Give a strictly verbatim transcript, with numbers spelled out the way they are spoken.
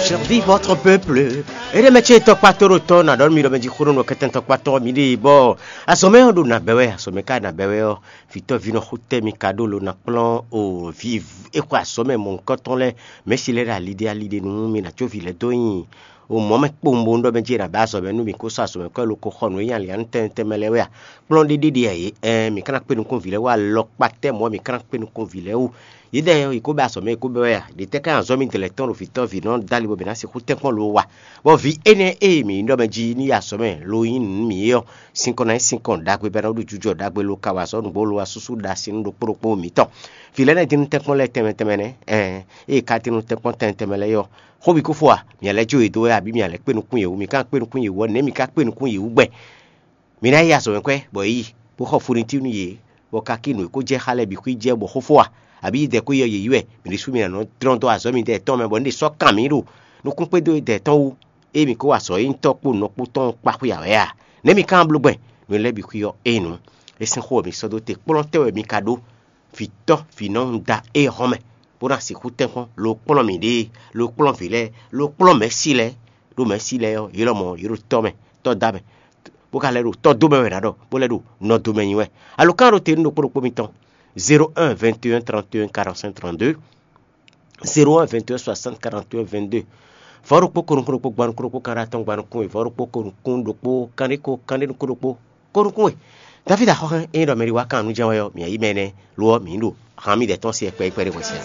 Servi votre peuple. Ede mɛ ce tɔkpa to ɖo tɔ na ɖɔ mi ɖɔ mɛ jí xó nɔ kɛtɛn tɔkpa tɔn mi ɖe bɔ azɔmɛ ɔ́ ɖo nabɛ wɛ, azɔmɛ ka nabɛ wɛ ɔ́, vitɔ vinɔ xotɛ mi ka ɖo lo na kplɔn o vi e xɔ azɔmɛ mɔ nukɔntɔn lɛ mɛsi lɛ ɖe ali ɖe ali ɖe nu mi na tso vi lɛ dó nyi o mɔ mɛ kpowun bo ɖɔ mɛ jí na bɛ azɔmɛ nu mi ko sɔ azɔmɛ kɔ lo ko xɔ nu e nya li anu tɛntɛn mɛ lɛ wɛ a kplɔn ɖe ɖe ɖe a yě ɛn mi kana kpe nukun vi lɛ wɛ alɔkpa tɛ mɔ mi kana kpe nukun vi lɛ wu. Yědɛɛ ɔ́, yě kó bɛ́ azɔ̌ mɛ, yě kó bɛ́ wɛ a? Ɖě tɛ́ ká nyí azɔ̌ mitɔn lɛ́ɛ tɔn ɖo vǐ tɔ́ vǐ nɔ dó ali bɔ mǐ ná sixú tɛ́nkpɔ́n lo wa? Bɔ vǐ énɛ́ e mǐ nyí ɖɔ mɛ jí ní yi azɔ̌ mɛ lo nyí nǔ nú mǐ é ɔ́, sinkɔn ná nyí sinkɔn ɖagbe bɔ é ná ɖó jijɔ ɖagbe lo ka wa azɔ̌ nǔgbó lo wá súsú ɖo asi nú ɖokpó ɖokpó mǐtɔn. Vǐ lɛ́ɛ nɛ́ dín nú tɛ́nkpɔ́n lɛ́ɛ tɛnmɛ tɛnmɛ nɛ́? Ɛɛn, ée è ka dín nú tɛ́nkpɔ́n tɛnmɛ tɛnmɛ lɛ́ɛ é ɔ́, xó bǐ kó fo a? Mǐ lɛ́ jó yě dó wɛ, abǐ mǐ lɛ́ kpé nukún yě wú? Mǐ ka kpé nukún yě wú ɔ́, nɛ̌ mǐ ka kpé nukún yě wú gbɛn? Mi ná yi azɔ̌mɛkwɛ́, bɔ é yi, bó xɔ fonitín nú yě, bɔ kakí nǔ e ko jɛ xá lɛ́ɛ bǐ xwí jɛ bɔ xó fó a, abǐ yídɛ ko yi ɔ́ yě yi wɛ, mǐ ɖésú mi ná nɔ dlɔ́n dó azɔ̌ mitɔ́ yětɔn mɛ, bɔ un ɖe sɔ́ kan mǐ ɖo nukún kpédó yídɛ tɔn wú, ée mǐ ko wa azɔ̌ e nyí tɔ́ kpó nɔ kpó tɔn kpá xwé ǎ wɛ a? Nɛ̌ mi ka wá bló gbɛn? Nǔ lɛ́ɛ bǐ xwí ɔ́, é nǔ. É sín xó wɛ mi sɔ́ dó te, kplɔ́n tɛ́ wɛ mi ka ɖó? Vǐ tɔ́, vǐ nɔ un da éhɔ́n mɛ, bó ná sixú tɛ́nkpɔ́n, lo kplɔ́n mǐɖée, lo kplɔ́n vǐ lɛ́ɛ, lo kplɔ́n mɛ̌si lɛ́ɛ, ɖó mɛ̌si lɛ́ɛ ɔ́, yě lɔmɔ̌ yě ɖo tɔ́ mɛ, tɔ́ da mɛ, bó ka lɛ́ ɖo tɔ́ dó mɛ wɛ ná ɖɔ, bó lɛ́ ɖo nɔ dó mɛ nyi wɛ. Alo kan ɖo te nú ɖokpó ɖokpó mitɔn, zéro un vingt et un trente et un quarante-cinq trente-deux, zéro un vingt et un soixante quarante et un vingt-deux. Vɔ̌ ɖokpó ko nukún ɖokpó gban nukún ɖokpó kan ɖo atɔn gban nukún we, vɔ̌ ɖokpó ko nukún ɖokpó kanɖé ko kanɖé nukún ɖokpó ko nukún we. David axɔ́xɛ́n e nyí ɖɔ mɛ ɖi wá kan nú jɛ́n wɛ ɔ́, mǐ yí mɛ énɛ́, lo ɔ́, mǐ yi ɖo han mì ɖɛ̌ tɔn se kpɛɖé kpɛɖé hwɛsɛn.